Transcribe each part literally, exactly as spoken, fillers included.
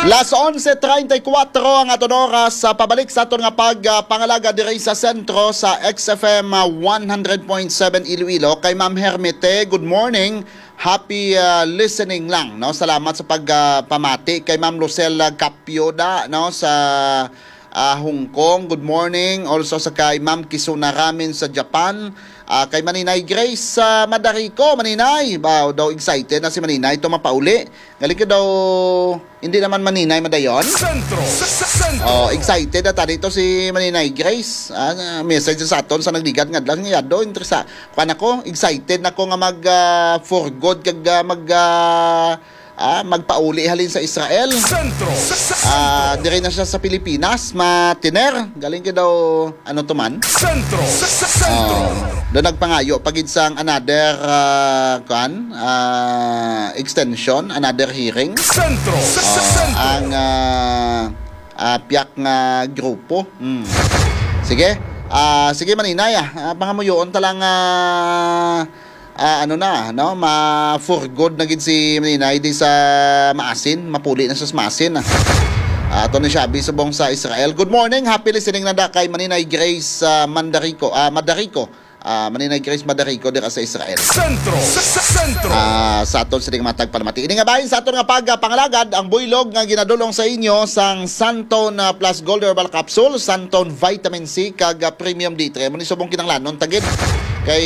Las onse treinta y cuatro ang aton oras sa pabalik sa aton nga pag, ah, pangalaga diri sa sentro sa X F M, ah, one hundred point seven Iloilo. Kay Ma'am Hermite, good morning. Happy, ah, listening lang, no? Salamat sa pag, ah, pamati kay Ma'am Lucel, ah, Capioda, no, sa, ah, Hong Kong. Good morning. Also sa kay Ma'am Kisuna Ramin sa Japan. Ah, kay Maninay Grace, ah, Madarico, Maninay. Ba, daw excited na si Maninay to mapauli. Galing ka daw, hindi naman Maninay madayon. Sentro. Sentro. Oh, excited na tani to si Maninay Grace. Ah, message sa aton sa nagligad nga adlaw nga yado, interesa. Kuan ako, excited na ko nga mag, ah, for good kag, ah, mag, ah, ah, magpauli halin sa Israel. Sentro. Ah, dire na siya sa Pilipinas, matiner. Galing ka daw, ano to man? Sentro. Sentro. Oh, do nagpangayo pa gid sang another, ah, kuan, ah, extension, another hearing. Sentro. Oh, Sentro. Ang, ah, ah, piyak nga grupo. Hmm. Sige. Ah, sige, Maninay, ah. Ah, pangamuyoon ta lang, ah, ah, ano na, no? Ma for good na gid si Maninay di sa Maasin, mapuli na siya sa Maasin, ah. Ah, ato ni Shabby subong sa Israel. Good morning, happy listening na da kay Maninay Grace, ah, Mandarico, ah, Madarico. Ah, Maninay Grace Madarico dira sa Israel. Sentro. Sentro. Ah, sa aton sining matag palamati. Ini nga bahin sa aton nga pagpangalagad, ang buylog nga ginadulong sa inyo sang Santone, ah, Plus Gold Herbal Capsule, Santone Vitamin C, kag, ah, Premium D three. Amo ni subong kinahanglanon ta gid. Kay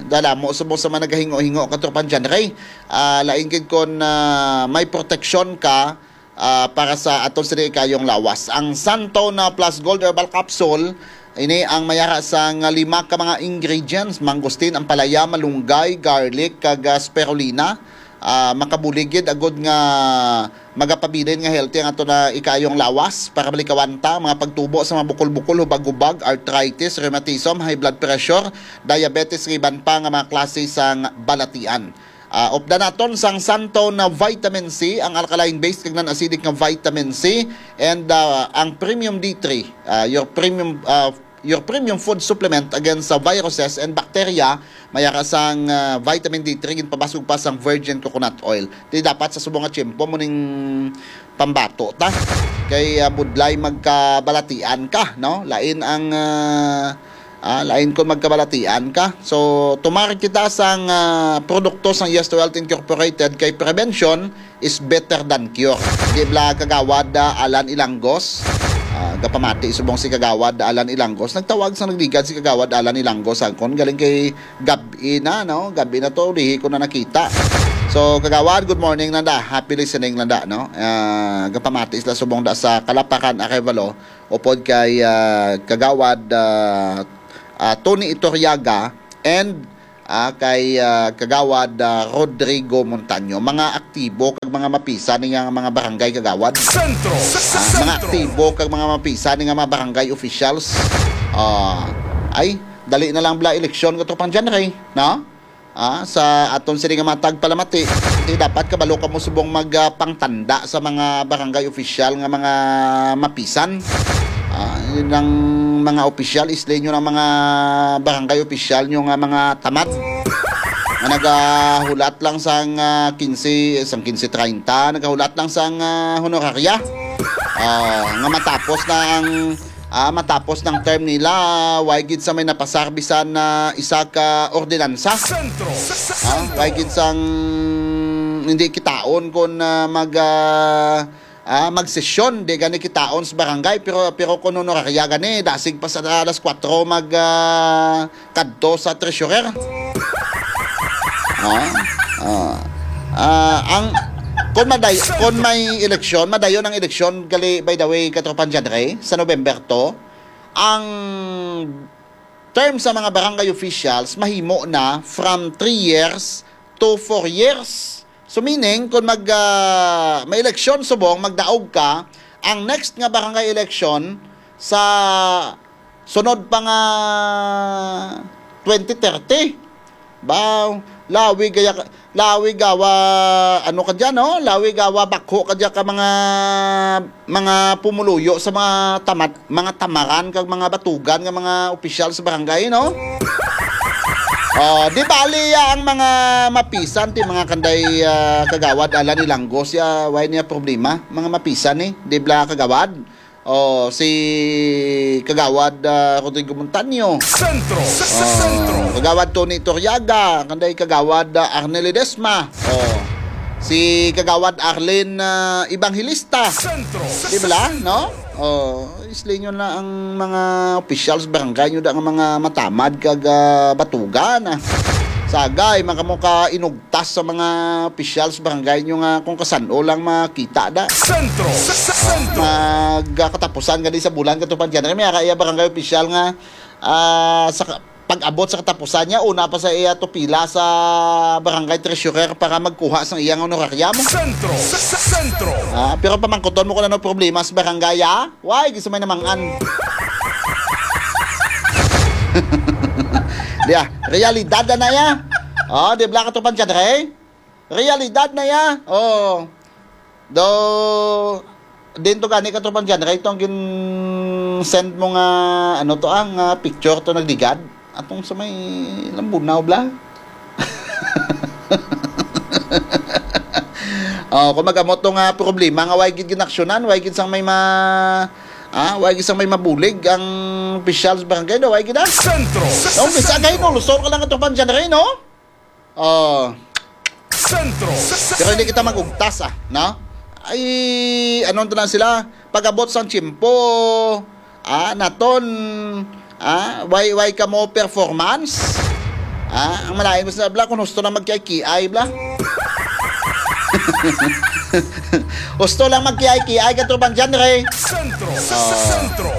dalamo subong sa mga nagahingo-hingo, Katropang John Ray. Ah, lain gid kon, ah, may proteksyon ka, ah, para sa aton sini kayong lawas. Ang Santone Plus Gold Herbal Capsule, ini ang mayara sang lima ka mga ingredients, mangosteen, ampalaya, malunggay, garlic, kag, ah, spirulina. Ah, makabulig gid agud nga magapabilin nga healthy ang ato na ikayong lawas para malikawan ta mga pagtubo sa mga bukol-bukol, hubag-hubag, arthritis, rheumatism, high blood pressure, diabetes, kag iban pa nga mga klase sang balatian. Ah, updan naton sang Santone Vitamin C, ang alkaline base kag non-acidic nga vitamin C, and, ah, ang Premium D three, ah, your premium, ah, your premium food supplement against sa viruses and bacteria, mayara sang, ah, vitamin D three, ginpabasog pa sang virgin coconut oil. Di dapat sa subong nga tiyempo mo ning pambato ta. Kay, ah, budlay magkabalatian ka, no? Lain ang, ah, ah, lain kon magkabalatian ka. So, tumar kita sang, ah, produkto sang Yes to Health Incorporated kay prevention is better than cure. Di bala, Kagawad, ah, Alan Ilangos? Ah, gapamati subong si Kagawad Alan Ilangos. Nagtawag sa nagligad si Kagawad Alan Ilangos angkon galing kay gab-i na, no? Gab-i na to, dihi ko na nakita. So, Kagawad, good morning lang da. Happy listening lang da, no? Ah, gapamati sila subong da sa Kalaparan, Arevalo, upod kay, ah, Kagawad, ah, ah, Tony Iturriaga and, ah, kay, ah, Kagawad, ah, Rodrigo Montaño. Mga aktibo kag mga mapisa ni nga mga barangay, Kagawad. Sentro. Ah, mga Sentro. Aktibo kag mga mapisa ni nga mga barangay officials. Ah, ay, dali na lang bala eleksyon, Katropang John Ray, no? Ah, sa aton sini nga mga tagpalamati, di dapat kabalo kamo subong mag, ah, pangtanda sa mga barangay official nga mga mapisan. Ah, yun ang mga opisyal, isli nyo ng mga barangay opisyal nyo nga mga tamad. Nga nagahulat lang sang, ah, quince, sang quince treinta, nagahulat lang sang, ah, honoraria. Ah, nga matapos na ang, ah, matapos ng term nila, ah, way gid sa may napasarbisan na isa ka ordinansa. Sentro. Ah, way gid sang hindi kitaon kung, ah, mag, ah, ah, magsesyon, di gani kitaon sa barangay, pero, pero kung honoraria gani, dasig pa sa alas kuwatro mag, ah, kadto sa treasurer. Ah, ah. Ah, ang, kung maday-, kung may eleksyon, madayon ang eleksyon, gali, by the way, Katropang John Ray, sa November two, ang term sa mga barangay officials mahimo na from three years to four years. So, meaning, kung mag, ah, may eleksyon subong, magdaog ka, ang next nga barangay election sa sunod pa nga twenty thirty. Ba, lawi gaya ka, lawi gawa, ano ka dyan, no? Lawi gawa bakho ka dyan ka mga, mga pumuluyo sa mga tamat, mga tamaran kag mga batugan nga mga opisyal sa barangay, no? Oh, di bali ya ang mga mapisan ti mga kanday, ah, kagawad Alan Ilanggo siya, why niya problema? Mga mapisan ni, di bala kagawad? Oh, si kagawad, ah, Rodrigo Montaño. Sentro. Sa, sa Oh, sentro. Kagawad Tony Toriaga, kanday kagawad, ah, Arnel Ledesma. Oh, si kagawad Arlene, ah, Evangelista. Sentro. Sa, Di sa bala, sentro. no? Oh, islinyo na ang mga officials barangay nyo da nga mga matamad kag, ah, batugan, ah. Sagay, man kamo ka inugtas sa mga officials barangay nyo nga kung kasan-o lang makita da. Sentro. Sa, sa sentro. Magkatapusan gani sa bulan, Katropang John Ray, may ara iya barangay official nga, ah, sa ka-, pag-abot sa katapusan niya, una pa sa iya to pila sa barangay treasurer para magkuha sang iyang honorarium. Sentro. Sa, sa sentro. Ah, pero pamangkuton mo kung ano problema sa barangay, ah? Why? Gusto may namangan. Di ah, realidad na na ya. Oh, di bala, Katropang John Ray? Realidad na ya. Oh. Do, din to gani, Katropang John Ray, itong gin-send mo nga, ano to, ang, ah, picture to nagligad. Atong sa may Lambunaw, bala. Oh, kung mag-amot to nga problema nga way gid ginaksyonan, way gid sang may ma-, ah, way gid sang may mabulig ang officials barangay, do, way gid, ah. Sentro. Sa, Nung sa bisa sentro. Kay Nulsol ka lang, Katropang John Ray, no? Oh. Sentro. Sa, sa Pero hindi kita sentro. Mag-ugtas, ah, no? Ay, ano to na sila? Pag-abot sang tiyempo, ah, naton, ah, way, way kamo performance? Ah, ang malain mo sa bala, kung husto lang magkiay-kiay, bala. Husto lang magkiay-kiay, Katropang John Ray. Sentro. Sa, sa Ah. sentro.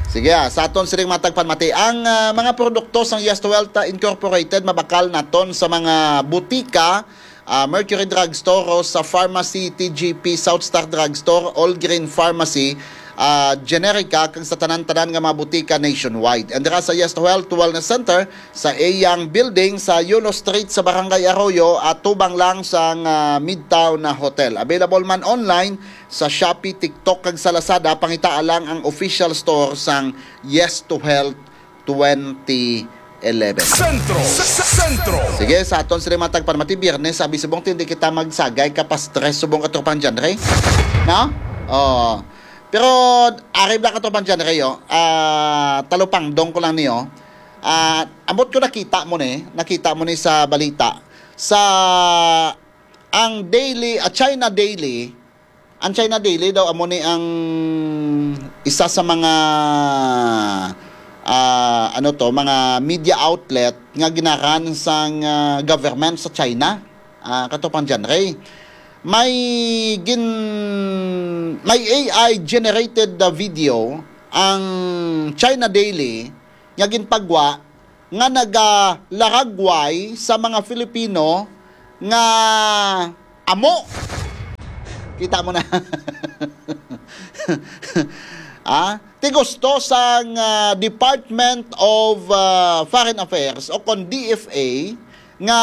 Sige, ah, sa aton siring matag panmati, ang, ah, mga produkto sang Yes to Health, ah, Incorporated mabakal naton sa mga butika, ah, Mercury Drugstore, Rosa Pharmacy, T G P, South Star Drugstore, All Green Pharmacy, ah, Generica, kag sa tanan-tanan nga mga butika nationwide. And dira sa Yes to Health Wellness Center, sa iyang building sa Yulo Street sa Barangay Arroyo, atubang lang sang, ah, Midtown na Hotel. Available man online sa Shopee, TikTok, kag sa Lazada, pangitaa lang ang official store sang Yes to Health twenty eleven. Sentro sa, sa sentro. Sige, sa aton sila matag panmati, Biyernes, sabi subong, hindi kita magsagay ka pa stress subong, Katropang John Ray. No? Oh. Pero, ari bala, Katropang John Ray, oh, ah, talupangdong ko lang niyo. Ah, ambot ko nakita mo ni, nakita mo ni sa balita. Sa ang Daily, ah, China Daily, ang China Daily daw amo ni ang isa sa mga, ah, ano to, mga media outlet nga ginaran sang, ah, government sa China, ah, Katropang John Ray. May gin-, may A I generated, ah, video ang China Daily nga ginpagwa nga nagalaragway sa mga Filipino nga amo. Kita mo na. Ah, ti gusto sang, ah, Department of, ah, Foreign Affairs o kon D F A nga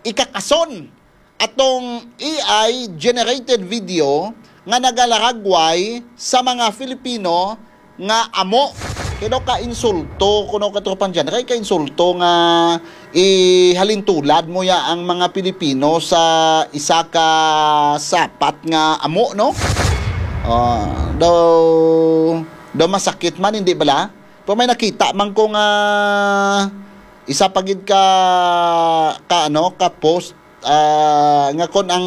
ikakason atong A I generated video nga nagalaragway sa mga Filipino nga amo. Kay daw ka insulto, kuno, Katropang John Ray, ka insulto nga ihalintulad mo ya ang mga Pilipino sa isa ka sapat nga amo, no? Ah, daw, daw masakit man, hindi bala? Pero may nakita man ko nga isa pa gid ka, ka, ano, ka post, ah, nga kon ang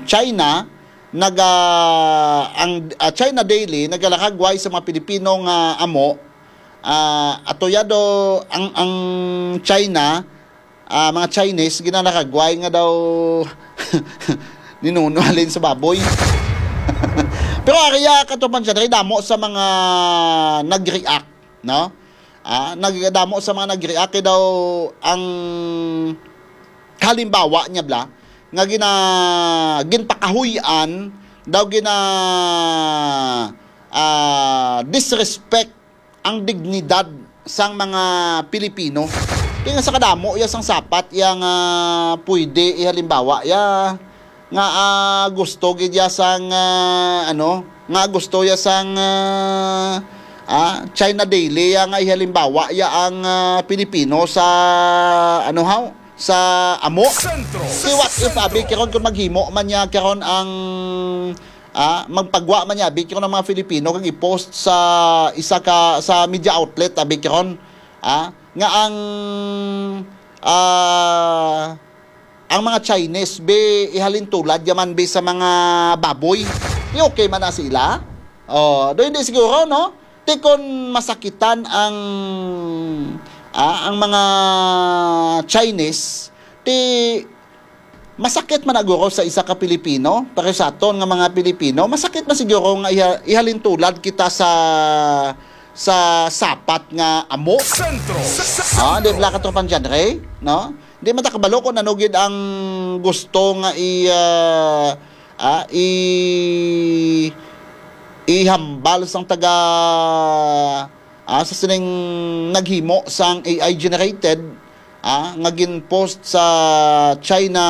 China naga-, ang, ah, China Daily nagalaragway sa mga Pilipino nga amo, ah, ato ya do ang, ang China, ah, mga Chinese ginalaragway nga daw ninuno halin sa baboy. Pero ari ya, Katropang John Ray, damo sa mga nag-react, no? Ah, nagdamo sa mga nag-react kay daw ang halimbawa niya bala nga gina-, ginpakahuy-an daw gina-, ah, disrespect ang dignidad sang mga Pilipino. Kaya nga sa kadamo ya sang sapat ya nga pwede ihalimbawa ya nga, ah, gusto gid ya sang, ah, ano, nga gusto ya sang, ah, Ah, China Daily ya nga ihalimbawa ya ang, ah, Pilipino sa, ano haw, sa amo. Sentro. Si what if, abi, karon kung maghimo man niya karon ang, ah, magpagwa man niya, abi, karon ang mga Filipino kag i-post sa isa ka, sa media outlet, abi, karon, ah, nga ang, ah, ang mga Chinese, be, ihalintulad yaman, be, sa mga baboy. Di okay man na sila? Oh, do hindi siguro, no? Ti kon masakitan ang, ah, ang mga Chinese, ti masakit man na guro sa isa ka Pilipino, pero sa aton nga mga Pilipino, masakit man siguro nga iha-, ihalintulad kita sa, sa sapat nga amo. Sentro. Ah, di ba, katropang John Ray, no? Di man ta kabalo kung ano gid ang gusto nga i, ah, ah, i, ihambal sang taga, ah, sa sining naghimo sang A I generated, ah, nga gin-post sa China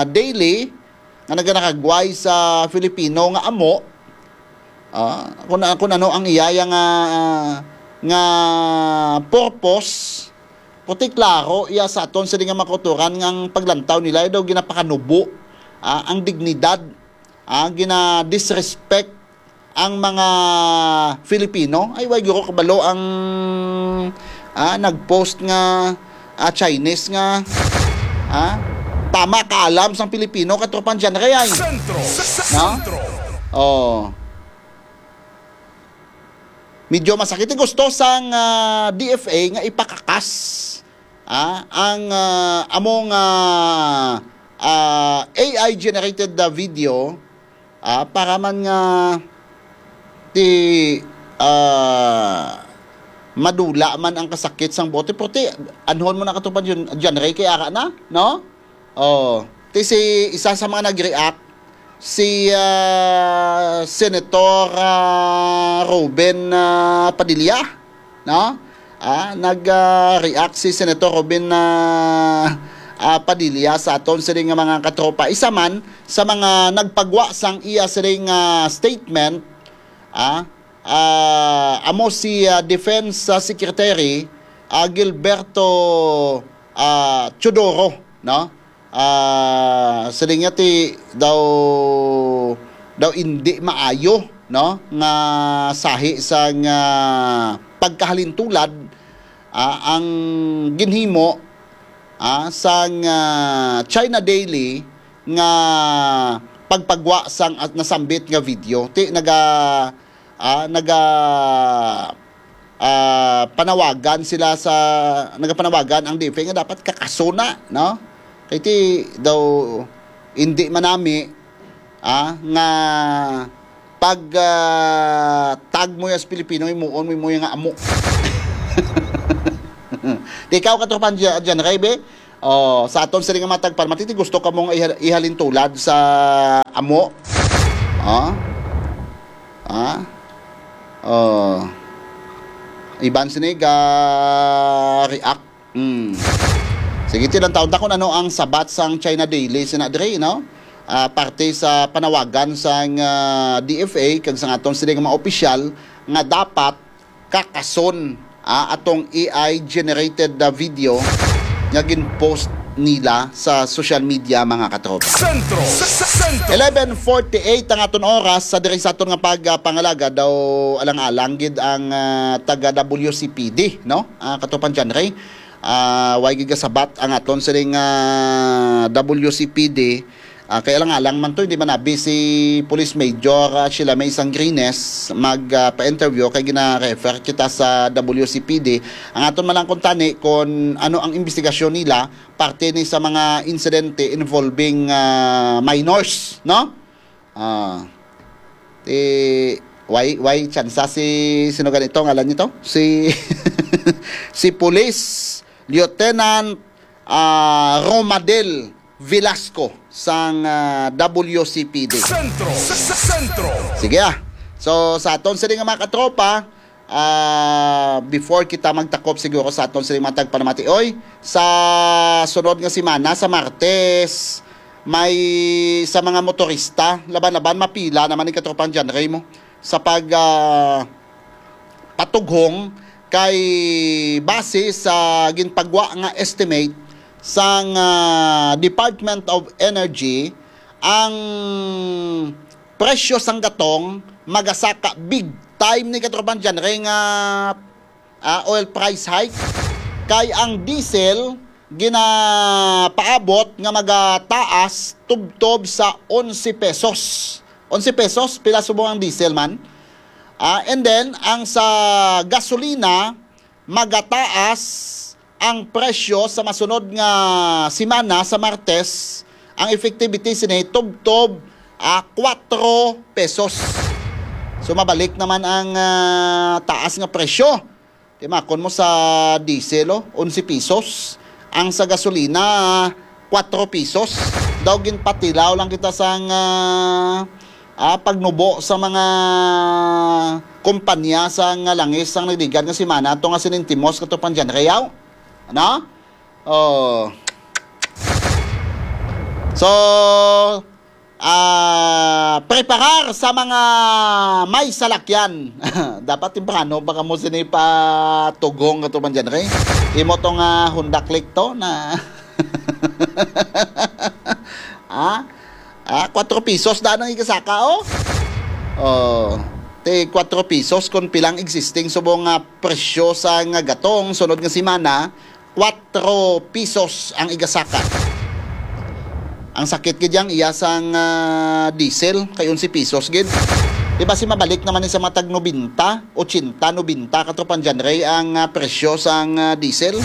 Daily nga naganakagway sa Filipino nga amo, ah, kung, kung ano ang iyaya nga, nga purpose, puti klaro iya sa aton sini nga mga kauturan nga ang paglantaw nila daw ginapakanubo, ah, ang dignidad, ah, gina-disrespect ang mga Filipino. Ay, way guro kabalo ang, ah, nag-post nga, ah, Chinese nga, ah, tama ka alam sang Pilipino, katropang John Ray, ay. Sentro. No? Sentro. Oh. Medyo masakit. Gusto sang, ah, D F A nga ipakakas, ah, ang, ah, among, ah, ah, A I generated, ah, video, ah, para man nga ti, ah, madula man ang kasakit sang bote. Puti, anhon mo na, katropang John, John Ray, kay ara na, no? Oh, ti si isa sa mga nag-react, si, ah, Senator, ah, Robin, ah, Padilla, no? Ah, nag, ah, react si Senator Robin, ah, ah, Padilla sa aton sini nga mga katropa. Isa man sa mga nagpagwa sang iya sini nga statement, ah, ah, amo si, ah, Defense, ah, Secretary, ah, Gilberto, ah, Teodoro, no? Ah, siling niya ti daw, daw indi maayo, no, nga sahi sang, ah, pagkahalintulad, ah, ang ginhimo, ah, sang, ah, China Daily nga pagpagwa sang, ah, nasambit nga video. Ti naga, ah, naga, ah, panawagan sila sa, nagapanawagan ang D F A nga dapat kakasona, no? Kay ti daw hindi manami, ah, nga pag, ah, tag mo as Pilipino, imuon mo, mo nga amo. Di ikaw, katropang Jan-, John Ray, be? Oh, sa aton sini nga mga tagpalamati, gusto ka mong iha-, ihalintulad sa amo? Oh? Ah? Oh. Iban sini ga react. Hmm. Sige, ti, lantawon ta kung ano ang sabat sang China Daily sina diri, no? Ah, parte sa panawagan sang, ah, D F A kag sang aton sini nga mga opisyal nga dapat kakason, ah, atong A I generated, ah, video nga gin-post nila sa social media, mga katropa. Sentro. Sentro. Eleven forty-eight ang aton oras sa diri sa aton nga pag, ah, pangalaga. Daw alang-alang gid ang, ah, taga W C P D, no? Ah, katropang John Ray. Ah, way gid kasabat ang aton sining, ah, W C P D. Ah, kay alang-alang man to, hindi man abi si Police Major, ah, Sheila May Sangrines mag, ah, pa-interview kay gina-refer kita sa W C P D. Ang aton man lang kuntani kung ano ang investigasyon nila parte ni sa mga insidente involving, ah, minors, no? Ah, ti, way, way tsansa si, sino ganito, ngalan nito? Si, si Police Lieutenant, ah, Romadel Velasco sang, ah, W C P D. Sentro. Sentro. Sige, ah. So, sa aton sini nga mga katropa, ah, before kita magtakop siguro sa aton sini mga tagpanamati, oy, sa sunod nga semana, sa Martes, may sa mga motorista, laban-laban, mapila naman ni katropang John Ray mo sa pag, ah, patughong kay base sa ginpagwa nga estimate sang, ah, Department of Energy, ang presyo sang gatong magasaka big time ni katropang John Ray nga, ah, oil price hike, kay ang diesel ginapaabot nga magataas tubtob sa onse pesos. Onse pesos, pila subong ang diesel man? Ah, and then, ang sa gasolina, magataas ang presyo sa masunod nga semana, sa Martes, ang effectivity sini tubtob, ah, kuwatro pesos. So, mabalik naman ang, ah, taas nga presyo. Timakon mo sa diesel, oh, onse pesos. Ang sa gasolina, kuwatro pesos. Daw ginpatilaw lang kita sang, ah, ah, pagnubo sa mga kumpanya sa nga langis sang nagligad nga semana, ato nga sinintimos katropang John Ray. Ano? Oh. So, ah, preparar sa mga may salakyan. Dapat temprano pa kamo sini patughong katropang John Ray. Imo to nga Honda Click to na ah, ah, kuwatro pesos da ang igasaka, oh. Oh, ti kuwatro pesos kung pilang existing subong nga presyo sa nga gatong sunod nga semana, kuwatro pesos ang igasaka. Ang sakit gid yang iya sang, ah, diesel kay onse pesos gid. Di ba si mabalik naman ni sa mga tag nobenta, ochenta, nobenta katropang John Ray ang, ah, presyo sang, ah, diesel?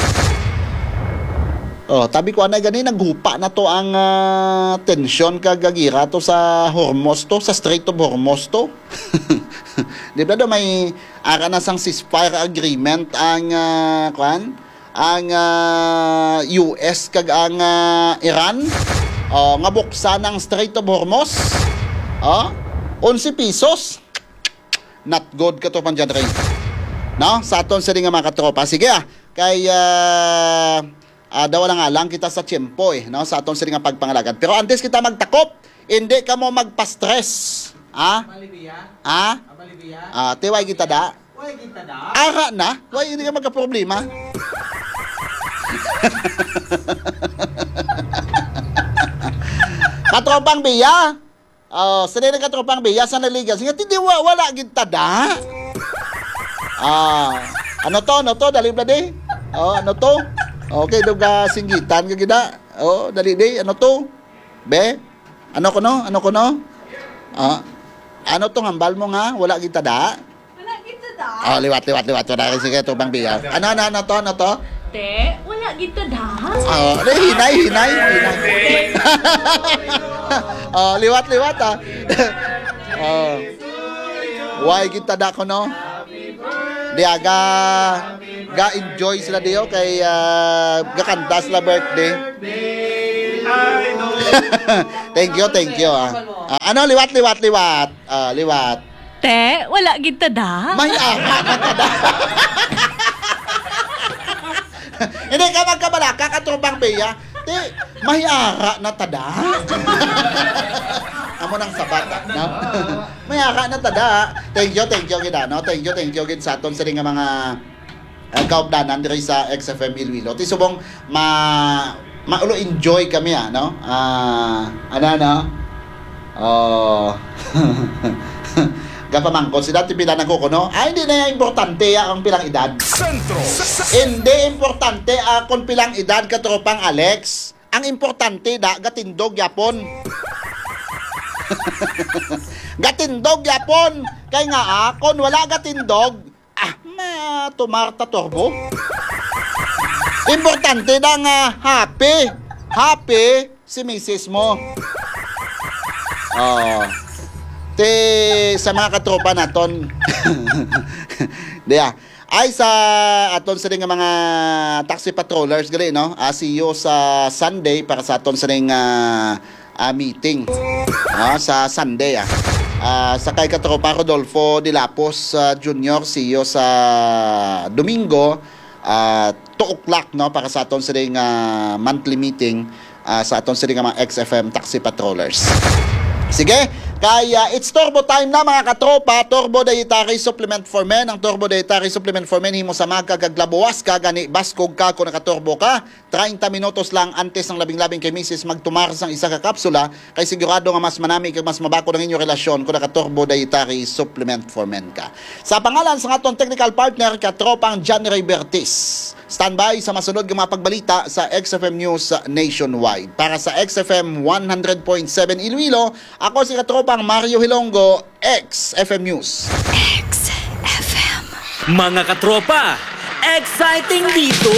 Oh, tabi ko anay gani naghupa na to ang, ah, tensyon kag gira to sa Hormuz to, sa Strait of Hormuz to. Di ba daw may ara na sang ceasefire agreement ang, ah, kwan? Ang, ah, U S kag ang, ah, Iran, oh, nga buksan ang Strait of Hormuz. Oh, onse pesos. Not good katropang John Ray. No? Sa aton sini nga mga katropa. Sige, ah. Kay, ah, ah, daw lang alang kita sa tiyempo, eh, no? Sa aton sini nga pagpangalagad. Pero antes kita magtakop, hindi kamo magpa-stress. Ha? Abalibiya? Ha? Abalibiya? Ah, tiway kita da. Way kita da. Ara na. Way, hindi ka magkaproblema. Katropang Biya. Oh, sila na katropang Biya sa naligas. Nga, hindi, wa-, wala gid tada. Ah, ano to? Ano to? Dali ba di? Oh, ano to? Okay, duga singgitan ka gida. Oh, dali di. Ano to? Be? Ano kuno? Ano kuno? Ah, ano tong hambal mo nga wala gid tada? Wala gid tada. Oh, liwat, liwat, liwat. Wala rin sige, tubang biya. Ano, ano, ano to? Ano to? Te, wala gid tada. Oh, hinay, hinay, hinay. Oh, liwat, liwat, ah. Oh. Why gid tada ko, no? Di aga ga-enjoy sila diyo kay, ah, gakanta sila birthday. Thank you, thank you, ah. Ah, ano, liwat, liwat, liwat. Ah, liwat. Te, wala gid tada. May ara na tada. Hindi ka magkabalaka, katropang Bea. Te, may ara na tada. Amo nang sabat, no? May ara na tada. Thank you, thank you gid, ano? Thank you, thank you gid sa aton sila nga mga, ah, kaupdanan diri sa X F M Iloilo. Ti subong ma-, maulo enjoy kami, ah, no? Ah, ano, ano? Oh. Gapamangkot sila, ti pila nagkukuno. Ay, hindi na yan importante, ah, ang pilang edad. Sentro. Hindi importante, ah, kung pilang edad, katropang Alex. Ang importante, da, gatindog yapon. Gatindog yapon. Kay nga, ah, kung wala gatindog, ah, matumar ta turbo. Importante da nga happy. Happy si misis mo. Oh. Ti sa mga katropa naton. Diya. Ay sa aton sini nga mga taxi patrollers gali, no? Ah, see you sa Sunday para sa aton sini nga, ah, meeting. Ah, sa Sunday, ah. Ah, sa kay katropa Rodolfo Dilapos, ah, Junior, see you sa Domingo, ah, two o'clock, no, para sa aton sini nga monthly meeting, ah, sa aton sini nga mga X F M taxi patrollers. Sige, Kaya it's turbo time na, mga katropa. Turbo Dietary Supplement for Men. Ang Turbo Dietary Supplement for Men, himo sa magka kag labuwas ka, gani baskog ka kung nakaturbo ka. Treinta minutos lang antes ng labing-labing kay misis magtumar sang isa ka kapsula, kay sigurado nga mas manami kag mas mabakod ang inyong relasyon kung naka-Turbo Dietary Supplement for Men ka. Sa pangalan sa aton technical partner, katropang John Ray Bertis. Standby sa masunod nga mga pagbalita sa X F M News Nationwide. Para sa X F M one hundred point seven Iloilo, ako si katropang Mario Hilongo, X F M News. X F M. Mga katropa, exciting dito!